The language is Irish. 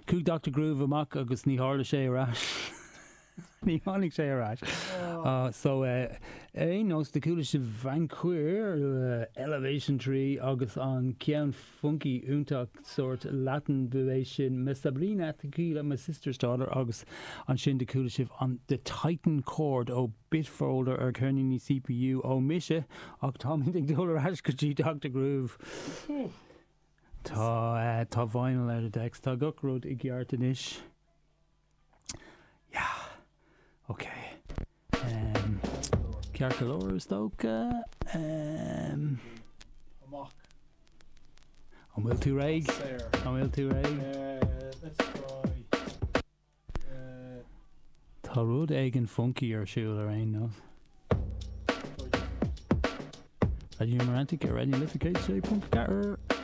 Chuaigh Doctor Groove amach agus ní tharla sé ar ais. Ní tháinig sé ar ais. So, ar aon nós, do chuala sibh Vanqueer le Elevation 3 agus an ceann funky iontach sórt Latin ba é sin Mi Sobrina Tequila, My Sister's Daughter agus ansin do chuala sibh an The Titan Chord ó Bitfolder ar cheirníní CPU ó mise ach táimid ag dul ar ais go dtí Doctor Groove. Tá, tá vinyl ar the decks, tá gach rud i gceart anois. Yeah. Ok. Um, ceart go leor is dócha. Um, Amach. An bhfuil tú réidh? An bhfuil tú réidh? Uh, let's try. Uh, Tá rud éigin funky ar siúl ar aon nós. Raidió na Life 106.4.